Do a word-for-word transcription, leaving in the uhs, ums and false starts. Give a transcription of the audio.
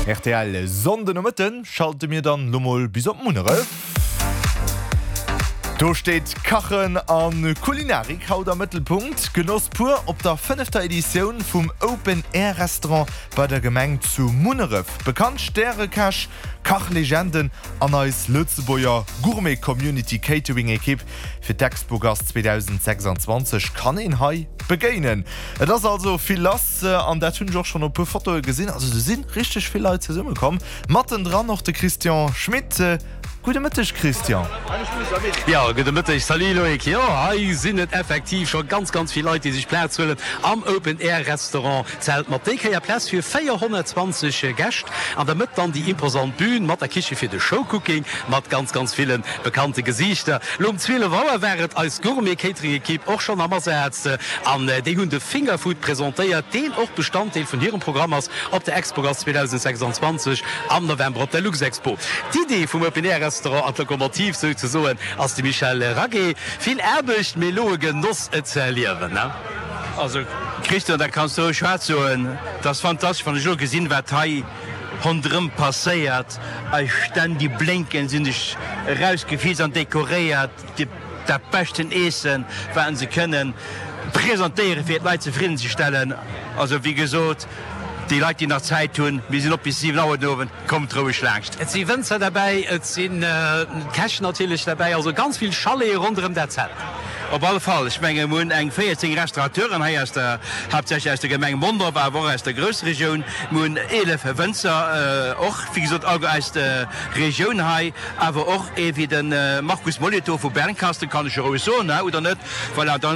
R T L Sonndenomëtten schalte mir dann lo mol bis op Munneref. Do steet Kachen an Kulinarik haut am Mëttelpunkt. Genoss pur op der fënnefter Editioun vum Open Air Restaurant bei der Gemeng zu Munneref. Bekannt Stärekäch, Kachlegenden an eis Lëtzebuerger Gourmet Community Catering Ekipp fir d'Expogast zweedausendsechsanzwanzeg kann een hei begéinen. Et ass also vill lass an dat hunn ech och schonn op puer Fotoe gesinn. Also do si richteg vill Leit zesummekomm. Mattendran och de Christian Schmit. Gudde Mëtteg, Christian. Jo, gudde Mëtteg, salut Loïc. Jo, hei sinn et effektiv scho ganz, ganz vill Leit, déi sech Plaz huelen am Open Air Restaurant Zelt mat déi Kéier Plaz fir véierhonnertzwanzeg Gäscht. An der Mëtt dann déi imposant Bühn mat der Kiche fir de Showcooking mat ganz, ganz ville bekannte Gesiichter. Lo um zwielef Auer war et eis Gourmet Catering Ekipp och schonn am Asaz an déi hunn de Fingerfood presentéiert, deen och Bestanddeel vun hirem Programm ass op der Expogast zweedausendsechsanzwanzeg am November op der Luxexpo. D'Idee vum Open Air Restaurant an d'Lokomotiv souzesoen ass de Michel Raguet. Vill Aarbecht, mee elo e Genoss et ze erliewen, ne? Also Christian, dat kanns de roueg haart soen, dat ass fantastesch, wann ech elo gesinn, wat hei ronderëm passéiert, eis Stänn déi blénken, si hunn sech erausgefiizt an dekoréiert, dat beschten Eessen, wat se kënnen presentéieren, fir d'Leit zefridden ze stellen. Also wéi gesot, déi Leit, déi nach Zäit hunn, mir sinn op bis siwen Auer den Owend, kommt roueg laanscht. Et si Wënzer derbäi, et si Käch natierlech derbäi, also ganz vill Chalete ronderëm dat Zelt. Op alle Fall, ech menge mir hunn eng véierzéng Restaurateuren hei aus der, haaptsächlech aus der Gemeng Mondorf, awer och aus der Groussregioun. Mir hunn eelef Wënzer, och wéi gesot alleguer aus der Regioun hei, awer och ee wéi de Markus Molito vu Bernkastel, kann ech jo roueg soen, oder net? Voilà, dann.